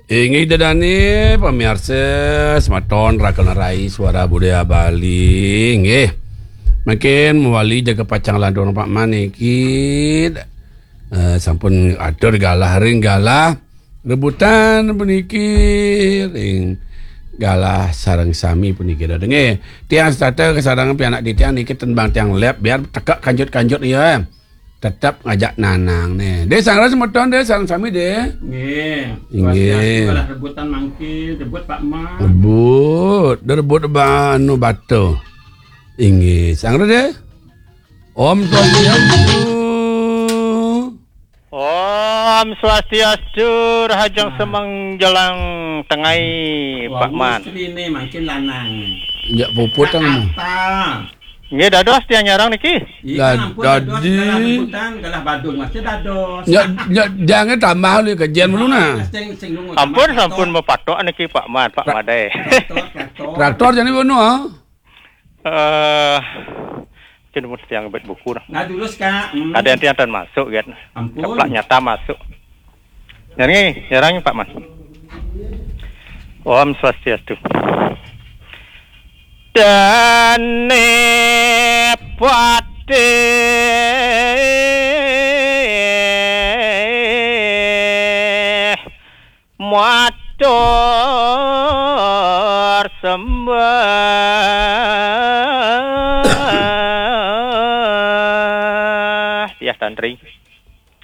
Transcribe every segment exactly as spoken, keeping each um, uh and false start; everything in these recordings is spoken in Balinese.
Inggih ida dané pamiarsa semeton Rakan Rai Suara Budaya Bali. Inggih. Mangkin mawali jaga pacang lantur Pak Man niki. Eh, sampun atur galah ring galah rebutan puniki ring galah sareng sami puniki. Dah dengé. Tiang setata kasareng pianak titiang niki tembang tiang lep biar tekak kanjut-kanjut ya. Tetep ngajak nanang nih. Deh, sangras semeton deh, sareng sami deh. Nggih. Inggih. Swastiastu, kalah rebutan mangkin, rebut Pak Man. Rebut, dah rebut ba-, anu batu. Inggih, sangras deh. Om Swastiastu. Om Swastiastu, rahajeng semeng jelang tengai, Pak Man. Istriné mangkin lanang. Ya puput. Kata. Nggih, dados tiang nyareng niki. Iya, ampun, dados dadi galah rebutan, galah badung, masih dados. Ya, ya, jangan tambah lu, kajian dulu, nah. Sing, sing nunggu. Ampun, tambah sampun traktor. Mapatok niki, Pak Man, Pak Tra-, Madé. Traktor, traktor. Traktor jani ngono, ah. Eh, mungkin mun tiang bet buku, nah. Nah, terus, Kak. Hmm. Ada yang tiang tan masuk, kan. Ampun. Keplak nyata masuk. Nyarang, nyarang, Pak Man. Om Swastiastu. Dané patih matur sembah. Tiah tantri.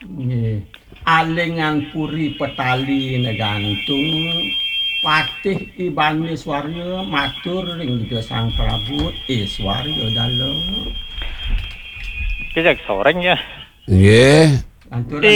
Nggih. Alingan puri petali negantung, patih ibané swarya matur ring Ida Sang Prabu, "Iswarya dalem." Ki jag soreng ya. Nggih. Lantur.